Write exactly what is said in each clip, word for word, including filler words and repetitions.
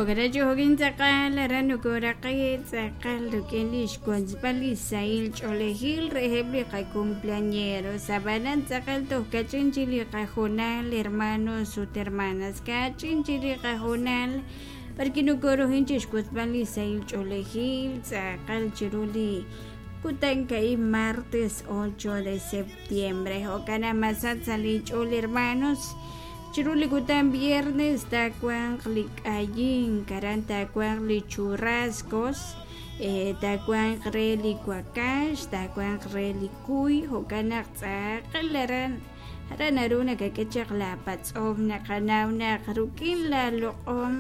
Jo'kan jo'kin tz'aqal aran nokoraqi tz'aqal rik'in li xwotzb'al li sahil ch'oolejil reheb' li qacumpleañeros ab'anan tz'aqal toj kach'in chi li qajoonal hermanos ut hermanas kach'in chi li qajoonal b'arki nokorujin chi xwotzb'al li sahil ch'oolejil tz'aqal chiru li kutan ka'ib' martes ocho de septiembre jo'kan masat sa' li ch'ool hermanos chiru li kutan viernes taawanq li k'ayink aran taawanq li churrascos eh, taawanq re li wakax taawanq re li kuy jo'kan naq tz'aqal aran aran naru nakak'e chaq la patz'om naqanaw naq rik'in la loq'om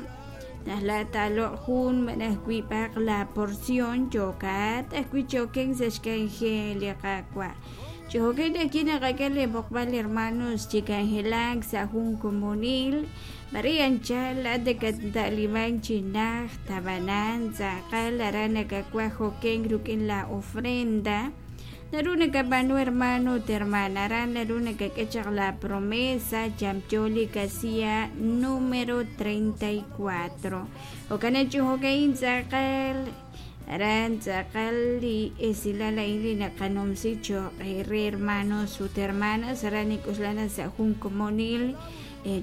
naj la taaloq' jun malaj wiib'aq la porción yokat ajwi' choken sa' xk'anjel li Qaawa' chi jo'kan ajwi' naqak'e li b'oqb'al hermanos chi k'anjelak sa' jun komonil b'ari anchal laat nakata'liman chi najt ab'anan tz'aqal aran nakawaj jo'ken rik'in la ofrenda naru nakab'aanu hermano ut hermana aran naru nakak'e chaq la promesa yamyo li casilla número treinta y cuatro jo'kan chi jo'ka'in tz'aqal aran tz'aqal li esilal a'in li naqanumsi cho'q re hermanos ut hermanas aran nik'uxlana sa' jun komonil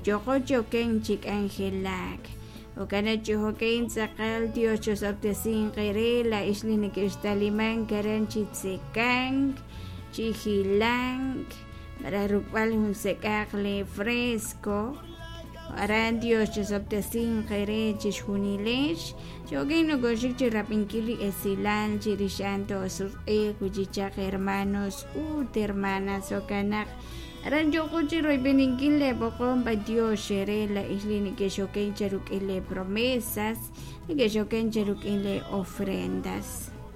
yoqo choken chi k'anjelak jo'kan chi jo'ka'in tz'aqal Dios chosob'tesinq re la ix li neke'xtalimank aran chi tzekank chi jilank malaj ruk'b'al jun sek'aq le fresco aran Dios chosob'tesinq re chixjunilex choken nokoxik chi rab'inkil li esilal chirix a'an toosutq'iiq wichichaq hermanos ut hermanas jo'kan naq aran yoqo chi royb'eninkil le b'oqom b'a Dios xere la ix li neke'xoken cheruk'in le promesas neke'xoken cheruk'in le ofrendas.